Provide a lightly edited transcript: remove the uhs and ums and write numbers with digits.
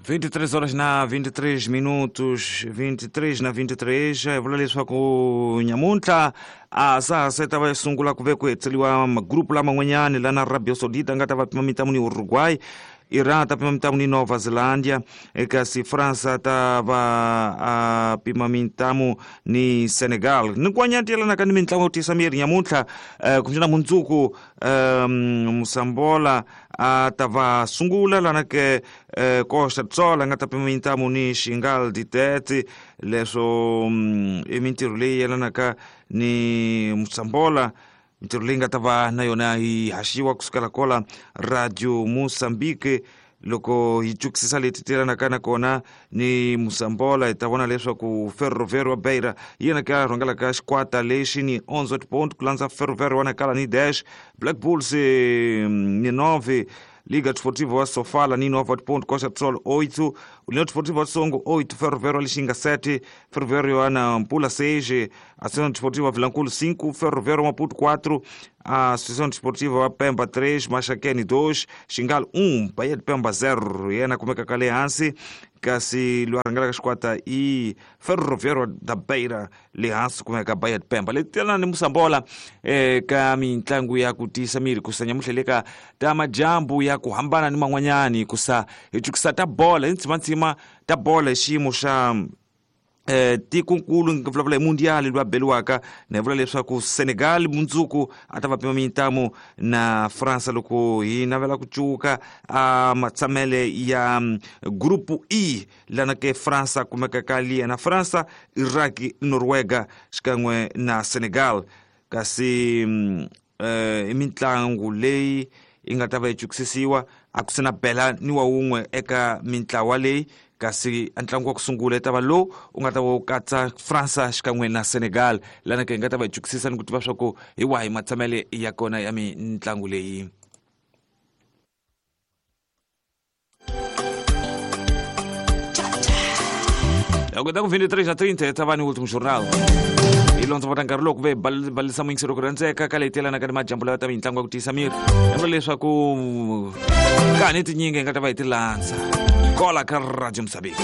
23 horas na 23 minutos, 23 na 23, vula leswaku nyamuntlha a sa ha se ta va sungula ku ve ku hetseliwa magrupu laman'wanyani lana Arabia Saudita nga ta va pima mintamu ni Uruguay, Iran ta pima mintamu ni Nova Zelândia, kasi França ta va a pima mintamu ni Senegal. Ni kwanyati yelanaka ni mintlangu yo tiyisa miri nyamuntlha, kumbexana mundzuku, Musambola a ta va sungula lana ke Costa do Sol a nga ta pima mintamu ni Xingal Ditete. Leswo i mintirho leyi yelanaka ni Musambola, mintirho leyi nga ta va na yona yi haxiwa kusukela kola Radio Mozambique. Loko hi cukisisa leti tiyelanaka na kona ni Musambola, hi ta vona leswaku Ferroviário wa Beira hi yena ka rhangelaka xikwata lexi ni 11 point, ku landza Ferroviário wa Nacala ni 10, Black Bulls ni 9, Liga Desportiva wa Sofala ni 9 ponto, Costa do Sol 8, União Desportiva wa Songo 8, Ferroviário wa Lixinga 7, Ferroviário wa Nampula 6, Associação Desportiva Vilanculo 5, Ferroviário Maputo 4, a Associação Desportiva wa Pemba 3, Maxaquene 2, Xingal 1, Bahia de Pemba 0. Yena kumeka ka le hansi, kasi loyi a rhangelaka xikwata i Ferroviário da Beira, le hansi kumeka Bahia de Pemba. Leti telana ni Musambola ka mitlangu ya ku tiyisa miri kusa nyamuhla le ka ta majambu ya ku hambana ni man'wanyani, kusa hi cukisa ta bola hi ntsimantsima ta bola hi xiyimo xa tikonkulu, nga vulavula hi mundial loyi a beliwaka na hi vula leswaku Senegal mundzuku a ta va pima mintamu na Fransa. Loko hi navela ku cuka a matshamele ya grupu E lana ke Fransa kumeka ka liya na Fransa, Iraq, Norwega xikan'we na Senegal. Kasi i mitlangu leyi yi nga ta va yi cukisisiwa, a ku se na bela ni wa wun'we eka mintlawa leyi, kasi ntlangu wa ku sungula ta va lowu u nga ta va wu katsa Fransa xikan'we na Senegal, lana ke hi nga ta va hi cukisisa ni ku tiva swa ku hi wahi matshamele ya kona ya mitlangu leyi. Loko ta ku 23 na 30 ta va ni último jornal hi londzovota nkarhi loko ve balisa muyingiselo ku rhandzeka ka leyi telanaka ni majambu lawa ta mitlangu ya ku tiyisa miri, endla leswaku ka ni tinyingi hi nga ta va hi ti landza kola ka Radio Mozambique.